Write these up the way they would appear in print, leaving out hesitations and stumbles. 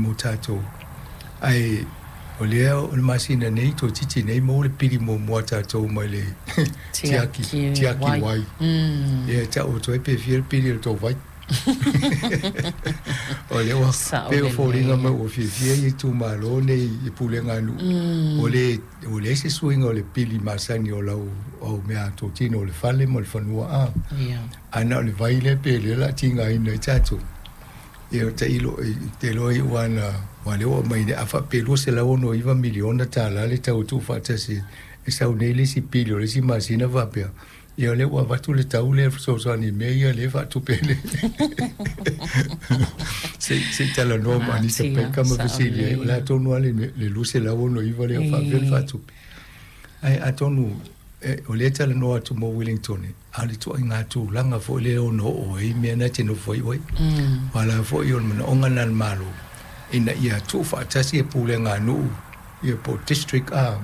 mo tatou. Ae o lea o le masina nei toeitiiti nei maua le pili muamua a tatou mai le tiaki, tiaki wai. Ia e tau atu ai pe fia le pili o le tou vai. O lea ua pei o foliga mai ua fiafia ia itumalo nei i pulega a nuu. Ua le ua leai se suiga o le pili masani o lau au meatotino o le fale ma le fanua a. Ae na o le vai lea pe lea o le a tigaina ai tatou. Ia tailo te iloa i ua na ua lea ua aumai nei a faapea e $269 miliona tala le tau e tuufaatasi e sau nei le isi pili o le isi masina faapea ia o lea ua avatu le tau lea e fesoasoani i mea ia lea e faatupe ai le se i talanoa ma Anita Baker ma fesili ai o le a tonu lava le 269 lea o faapefea ona faatupe. Ae atonu o lea e talanoa atu mo Wellington a o le ituaiga tulaga foi lea e ono oo ai mea na e te nofo ai oe. Aua la foi o le manaoga lena o le Malo ina ia tuufaatasi pulega a nuu ia po o district a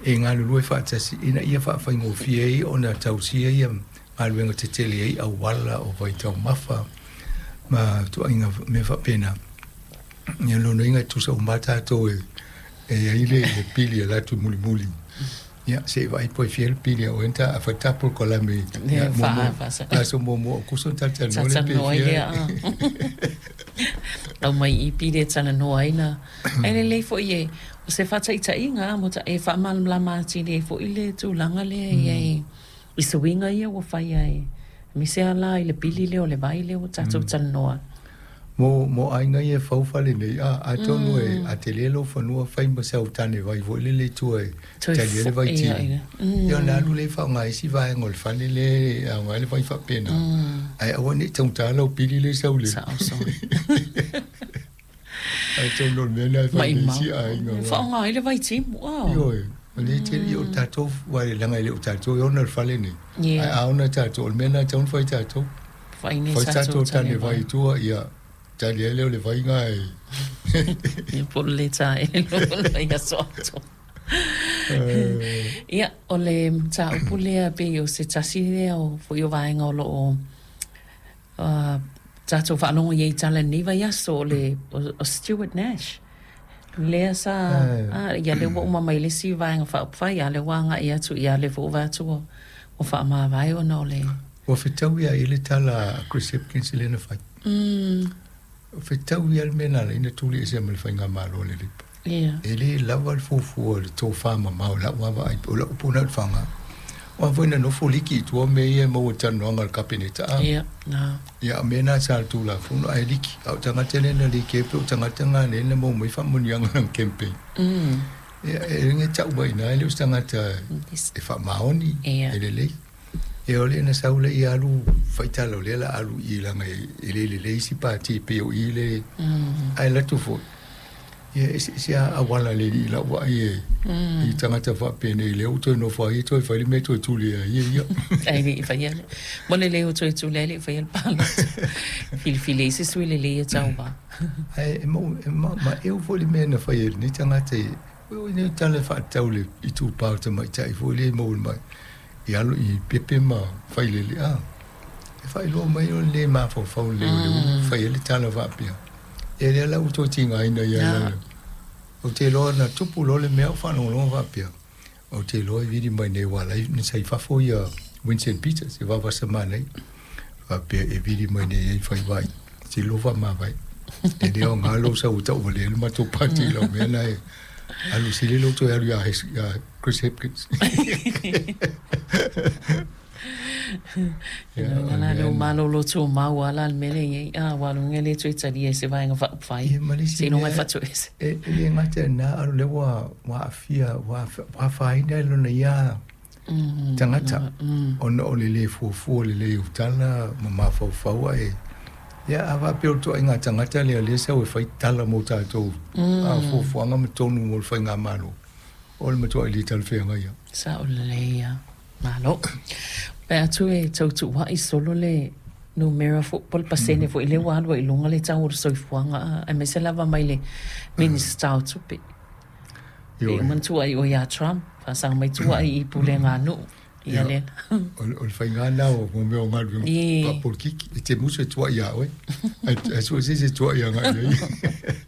e galulue faatasi ina ia faafaigofie ai ona tausia ia galuega tetele ai auala o vaitaumafa ma ituaiga mea faapena. Ia lona uiga e tutusa uma lava tatou e i ai le pili e alu atu mulimuli. Ia, se i vaai po e fia le pili a oe ta a fai ta polokalame ia aso muamua o Akuso ona talatalanoa lea pe fia. Aumai i pili e talanoa ai na. Ae lelei foi e, o se faataitaiga mo ta, e faamalamalama atili ai foi le tulaga lea e i ai i suiga ia ua fai ai, aemaise lava la i le pili lea o le vai lea ua tatou talanoa. Mo, mo aiga ia e fau fale nei, a, atonu e, a tele lou fanua fai ma sau tane vai foi lele i tua e tali ai le vai timu. Ia ona alu lea e faaaoga ai isi vaega o le fale lea e aoga ai le vai faapena. Ae aua ne i taugata lau pili lea e sau le. Sao sao. Atonu o le mea lena e fai nei isi aiga. E faaaoga ai le vai timu. Ioe, o lea e tele, ia o tatou, aua leaga e le o tatou e ona le fale nei. Ae a ona tatou, o le mea lena e tatau ona fai e tatou. Fai nei tatou tane vai i tua, ia tali ai lea o le vai na e. Ia po o le lē taele loa le vaiaso atoa. Ia, o le mataupu lea pei o se tasi lea o foi o vaega o lo o tatou faalogo i ai i tala i lenei vaiaso, o le o Stuart Nash. Lea sa, ia lea ua uma mai le isi Vaega Faaupufai, a o lea ua agai atu, ia lea foi ua vaai atu ua faamavae ona o le. Ua fetaui lava i ai le tala a Chris Hipkins lea na fai. Ua fetaui lava le mea na ala ai ona tuli ese ma le faigamalo a le Labour. E le lava le fuafua o le tofa mamao i lau lava vaai, o lau upu lena i le faga. Aua foi na nofo liki i tua mea ia e maua i talanoaga a le Kapeneta. Ia, o mea na sa le Tulafono ae liki. A o tagata lea na liki ai pei o tagata na lea na maua mai faamanuiaga i lana campaign. Ia, e le tau mai i ina e le o se tagata e faamaoni, e lelei. Ia o lea na sau lea ia alu faitala o lea o le a alu i i leaga e le lelei isi pati e pei o i le ae alu atu foi ia e eseese lava auala a le alii i lau vaai e i tagata faapenei lea ua toe nofo ai toe fai le mea toe tuli ai e ia. Ae le i faia le mo le lei o toe tuli ai le i faia le palota. Filifili ai se sui lelei e tauva. Ae e mau e ma maeu foi le mea na fai e lenei tagata i oi nei tala e faatatau i le itupa o le tamaitai foi lea e maua mai i alo i pepe ma failele a e faailoa mai o le le mafaufau lelei o le ulu fai ai le tala faapea ia lea la ua toe tigaina ia ia ou te iloa na tupu loa le mea ou faalogologo faapea ou te iloa e vili mai nei aua la e sa i fafo ia Winston Peters e vavasa manaia faapea e vili mai nei ai fai vai tilo faamavae e le aoga lou sau e tauvalea le matou pati i lau mea lena e alu sili lou toe alu ia Chris Hipkins. Ia, la le malolo tumau lava la le mea lea e i ai, a ua alu le toe talia e se Vaega Faaupufai, seiloga e fatoese. E le gata i lena, a o lea ua aafia, ua afaina i lona ia tagata, ona o le le fuafua lelei o tala ma mafaufau ae, ia a faapea o le ituaiga tagata lea o lea e sau e fai tala mo tatou, a fuafuaga ma tonu mo le faigamalo. O le matuai le talafeagai lava. Sao lelei lava. Malo. Pe atu e tau tuua'i solo le numera foi po o le pasene foi lea ua alu ai i luga le tau o le soifuaga aemaise lava mai le Minisita o Tupe. Pei uma ona tuua'i oe ia Trump, faasaga mai tuua'i i pulega a nuu. Ia lea. O le faiga lena o mea o galuega faapolikiki. E te musu e tuua'i ia oe, ae sue se isi e tuua'i agai i ai.